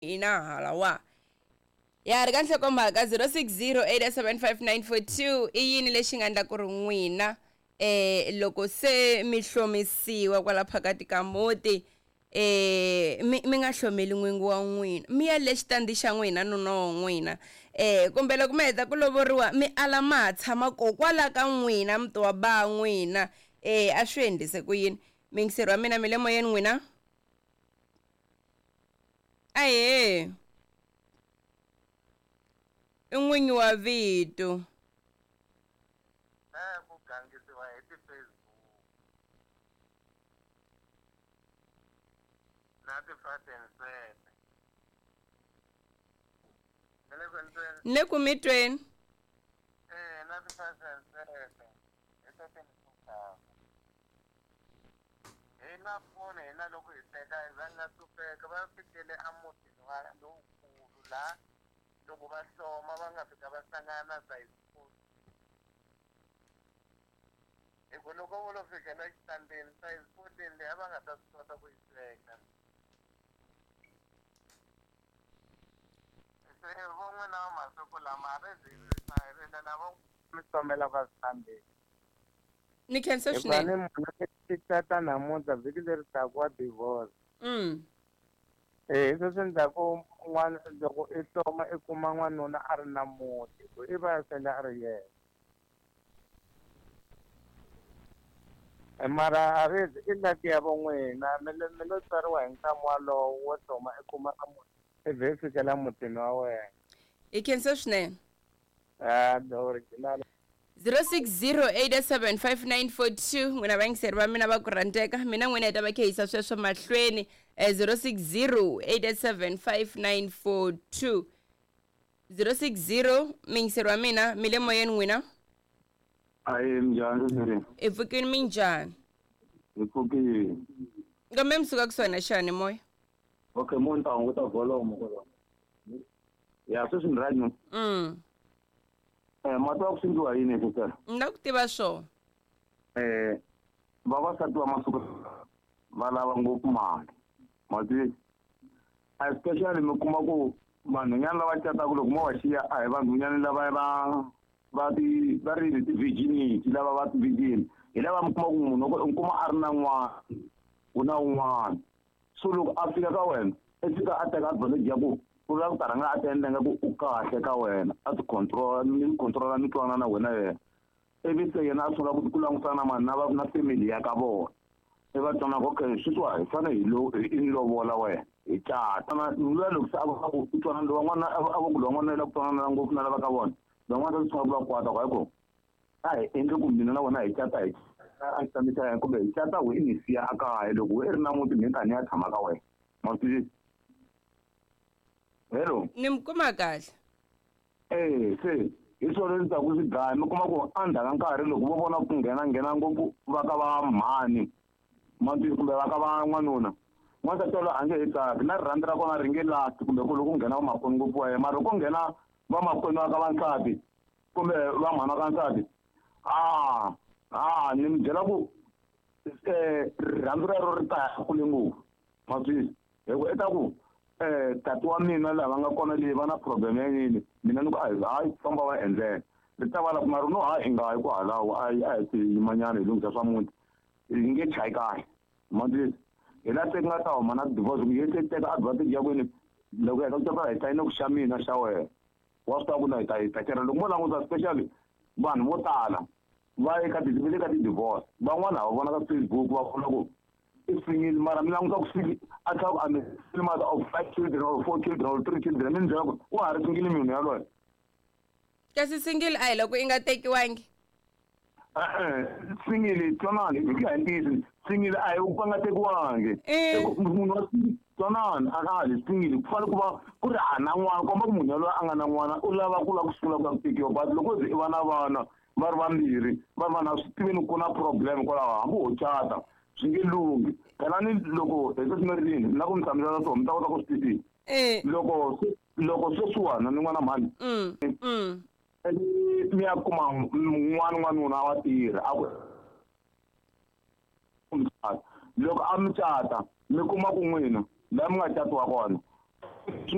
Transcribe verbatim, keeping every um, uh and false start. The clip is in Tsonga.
Hina halawa ya ri ka nhlokomhaka zero six zero eight seven five nine four two i yini lexi nga endla ku ri n'wina eh loko se mi hlomisiwa kwala phakati ka muti eh mi mi nga hlomeli n'wingi wa n'wina mi ya le xitandi xa n'wina nuna wa n'wina eh kumbe loko mi heta ku lovoriwa mi ala ma ha tshama ko kwala ka n'wina muti wa ba n'wina eh a swi endlise ku yini miyingiseri wa mina mi le moyeni n'wina ahe i n'winyi wa vito eh ku gangisiwa hi ti-Facebook na ti-Faden ni le ku mi tweni eh na ti-Faden hi to ti hina foni hina loko hi teka hi va nga hlupeka va fikele emutini wa lowukulu laha loko va hloma va nga fika va hlangana na size four hi ku loko vo lo fikela exitandini size fourteen leyi a va nga ta swi kota ku yi sweka se vo n'wina va masiku lama a ri zi rila lava mi hlomela ka switandini ni khensa swinene munhu i cata namuntlha vhiki leri taka wa divorce mm eh hi sweswi endzhaku n'wana loko i hloma i kuma n'wanuna a ri na muti ku i va sele a ri yena mara a ri i laki ya vo n'wina mi le mi lo tswariwa hi nkama walowo wo hloma i kuma a muti i vhe i fikela mutini wa wena hi khensa swinene a the original zero six zero eight seven five nine four two n'wina vayingiseri va mina va ku rhandzeka mina n'wina hi ta va khe yisa sweswo mahlweni zero six zero eight seven five nine four two zero six zero miyingiseri wa mina mi le moyeni n'wina ayi minjhani seseri hi pfukini minjhani hi pfukile kambe mi suka kusuhi na xani moya okay mo ni ta hunguta volume kwalaho ya sweswi ni right no mm eh ma tiva ku swi endliwa yini sister ni la ku tiva swona eh vavasati va masiku va lava ngopfu mali ma twisisa especially mi kuma ku vanhwanyana lava cataka loko mo va xiya a hi vanhwanyana lava va va ti va ri ti-virginity lava va ti-virgin hi lava mi kuma ku munhu u kuma a ri na n'wana u na un'wana so loko a fika ka wena i fika a teka advantage ya ku u lava ku ta rhanga a ti endla nga ku u kahle ka wena a ti control mi controla mi twanana na wena yena ivi se yena a sungula ku ku langutana na mani na va na family ya ka vona i va twana ku okay sweswiwa hi fanele hi lo hi lovola wena hi cata na luya loko se a va ku u twanana lowa n'wana a va ku lowa n'wana i lava ku twanana ngopfu na lava ka vona lava n'wana ta sungula ku va kwata ku hayi ku a hi endli ku mina na wena hi cata hi a xitandini xa yena kumbe hi cata we i ni siya a kaya loko we i ri na muti mina ta ni ya tshama ka wena ma swi hello ni mi kuma kahle eh se hi swona leswi taku swi dlaya mi kuma ku endzhaku ka nkarhi loko vo vona ku nghena nghena ngopfu va ka va mhani ma kumbe va ka va n'wanuna n'wansati waloye a nge he tsaki na rirhandzu ra kona ri nge lati kumbe ku loko ku nghena vamakwenu ngopfu wa yena mara loko ku nghena vamakwenu va ka va nsati kumbe va mhana ka nsati a a ni mi byela ku eh rirhandzu rero ri ta ya kule ngopfu ma twisisa hi ku i ta ku eh tati wa mina laha va nga kona leyi va na problem ya yini mina ni ku a hi hayi famba va endlela ri ta va la ku mara no hayi i nga yi ku halawo a hi a hi ti yimanyana hi lunghisa swa muti hi nge chayi kahle ma twisisa hi laha se ku nga ta huma na divorce ku ye se teka advantage ya kwini loko heta ku cata hi sayine ku xa mina xa wena wa swi tiva ku na hi ta hi ta tirha loko mo languta especially vanhu vo tala va eka ti va le ka ti-divorce van'wana ha va vona ka Facebook va vona ku i single mara mi languta ku single a tlhela ku a mi mother of five children or four children or three children mi ni byela ku wa ha ri single munhu yaloye kasi single a hi loko i nga tekiwangi e-e single twanani hi ku ya hi ntiyiso single a hi ku nga tekiwangi munhu wa twanani a nga ha single ku fanele ku va ku ri ha na n'wana komba ku munhu yaloye a nga na n'wana u lava ku lava ku sungula ku ya ku tekiwa but loko ze i va na vana va ri vambirhi va ri vana swi tiveni ku na problem kwalaho hambi ho cata swi nge lunghi phela ni loko hi sweswi mi ri yini na ku mi hlamusela swona mi ta kota ku swi twisisa loko loko sweswiwana ni n'wana mhani mi ya kuma n'wana n'wanuna wa tirha a ku loko a mi cata mi kuma ku n'wina laha mi nga catiwa kona